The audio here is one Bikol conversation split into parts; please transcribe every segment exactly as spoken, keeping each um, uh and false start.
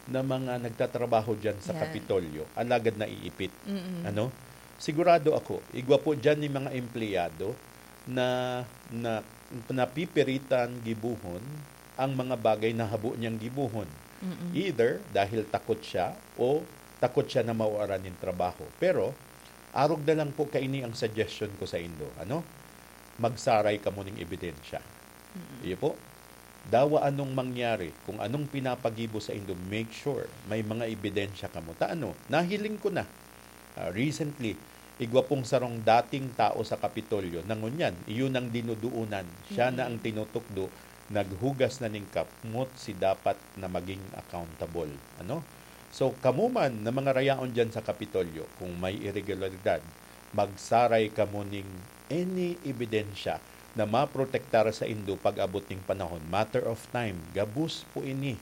na mga nagtatrabaho diyan sa Yan. Kapitolyo, alagad naiipit. Mm-mm. Ano? Sigurado ako, igwa po diyan ni mga empleyado na, na napipiritan gibuhon ang mga bagay na habo niyang gibuhon. Mm-mm. Either dahil takot siya o takot siya na mawaran nin trabaho. Pero, arog na lang po kaini ang suggestion ko sa indo. Ano? Magsaray kamo ning ebidensya. Mm-mm. Iyo po. Dawa anong mangyari, kung anong pinapagibo sa indo, make sure may mga ebidensya kamo. Ta ano, nahiling ko na, ah, recently, igwa pong sarong dating tao sa Kapitolyo na ngunyan, iyon ang dinuduunan. Siya na ang Mm. tinutukdo, naghugas na ning kamot si dapat na maging accountable. Ano? So, kamo man na mga rayaon diyan sa Kapitolyo, kung may iregularidad, magsaray kamo ning any ebidensya na maprotektar sa indo pag-abot ning panahon. Matter of time, gabos po ini,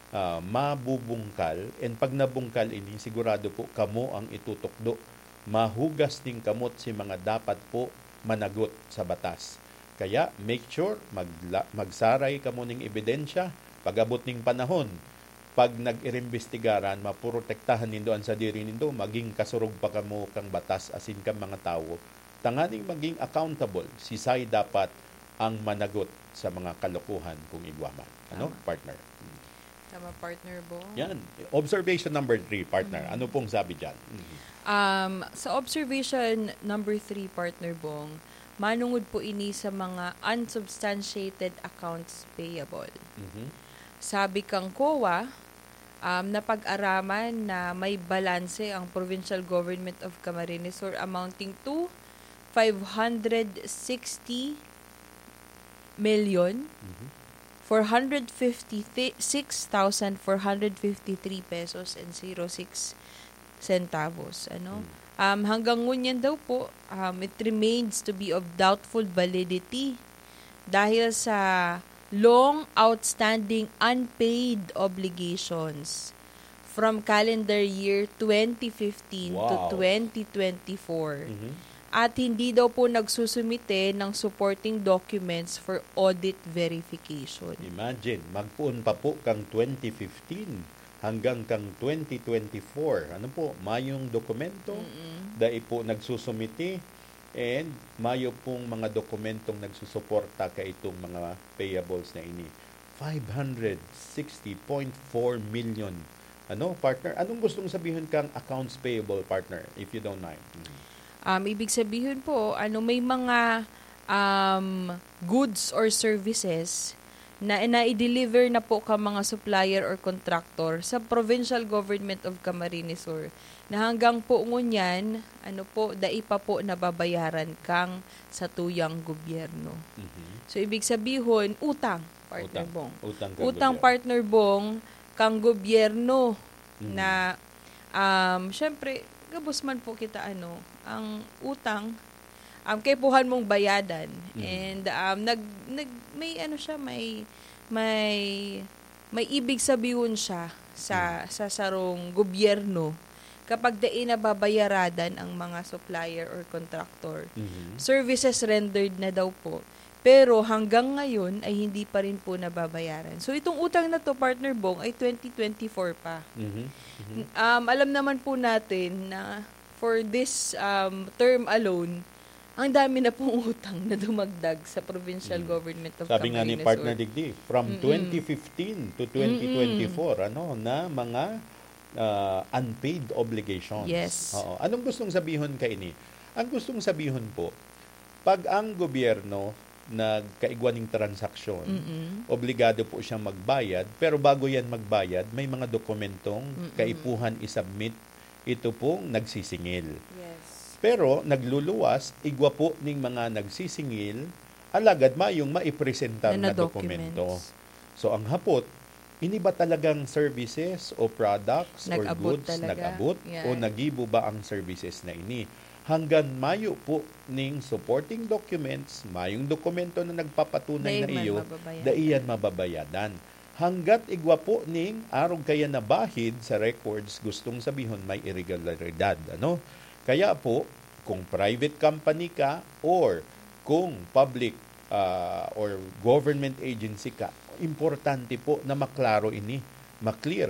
ah, mabubungkal. And pag nabungkal ini, sigurado po kamo ang itutukdo. Mahugas ning kamot si mga dapat po managot sa batas. Kaya make sure magla-, magsaray kamo ning ebidensya pag-abot ning panahon. Pag nag-irimbestigaran, maprotektahan nindo an sadiri nindo, maging kasurog pa kamo kan batas asin kan mga tawo, tanganing maging accountable, sisay dapat ang managot sa mga kalokohan kung igwa man. Ano, Tama. partner? Mm. Tama, partner Bong. Yan. Observation number three, partner. Mm. Ano pong sabi dyan? Mm. Um, sa observation number three, partner Bong, manungod po ini sa mga unsubstantiated accounts payable. Mhm. Sabi kang COA, um, napag-araman na may balanse ang Provincial Government of Camarines Sur amounting to five hundred sixty million, Mhm. four hundred fifty-six thousand four hundred fifty-three pesos and zero six centavos, ano? Hmm. Um, hanggang ngunyan daw po, um, it remains to be of doubtful validity dahil sa long outstanding unpaid obligations from calendar year twenty fifteen to Wow. twenty twenty-four. Mhm. At hindi daw po nagsusumite ng supporting documents for audit verification. Imagine, magpoon pa po kang twenty fifteen hanggang kang twenty twenty-four. Ano po, mayong dokumento, Mm-mm. dai po nagsusumite, and mayo pong mga dokumentong nagsusuporta kaitong mga payables na ini. Five hundred sixty point four million. Ano, partner? Anong gustong sabihon kang accounts payable, partner, if you don't mind? Mm. Um, ibig sabihin po, ano, may mga, um, goods or services na, na i-deliver na po ka mga supplier or contractor sa Provincial Government of Camarines Sur na hanggang po ngunyan, ano po, dai pa po nababayaran kang satuyang gobyerno. Mhm. So, ibig sabihon, utang, partner Utang. Bong. Utang kang Utang, gobyerno. partner Bong, kang gobyerno Mhm. na, um, syempre, gabos man po kita, ano, ang utang, um, kaipuhan mong bayadan. Mhm. And, um, nag-, nag-, may ano siya, may, may, may ibig sabihon siya sa, Mhm. sa sarong gobyerno kapag dai nababayaradan ang mga supplier or contractor. Mhm. Services rendered na daw po. Pero hanggang ngayon ay hindi pa rin po nababayaran. So, itong utang na 'to, Partner Bong, ay twenty twenty-four pa. Mhm. Mhm. N-, um, alam naman po natin na for this, um, term alone, ang dami na pong utang na dumagdag sa Provincial Mm. Government of Sabi nga ni Camarines Partner Sur. Digdi, from Mm-mm. twenty fifteen to Mm-mm. twenty twenty-four, ano, na mga, ah, unpaid obligations. Yes. Oo. Anong gustong sabihon kaini? Ang gustong sabihon po, pag ang gobyerno nagkaigwa ning transaksyon, Mm-mm. obligado po siyang magbayad, pero bago yan magbayad, may mga dokumentong Mm-mm. kaipuhan i-submit ito pong nagsisingil. Yes. Pero nagluluwas, igwa po ning mga nagsisingil, alagad mayong maipresentar Na na na dokumento. documents. So, ang hapot, ini ba talagang services o products or Nag-abot goods talaga. nag-abot Yan. o nagibo ba ang services na ini? Hanggang mayo po ning supporting documents, mayong dokumento na nagpapatunay Dai na man iyo, mababayaran. dai yan mababayadan. Hanggat igwa po ning arog kaya nabahid sa records, gustong sabihon may irregularidad, ano? Kaya po, kung private company ka or kung public, ah, or government agency ka, importante po na maklaro ini, maklear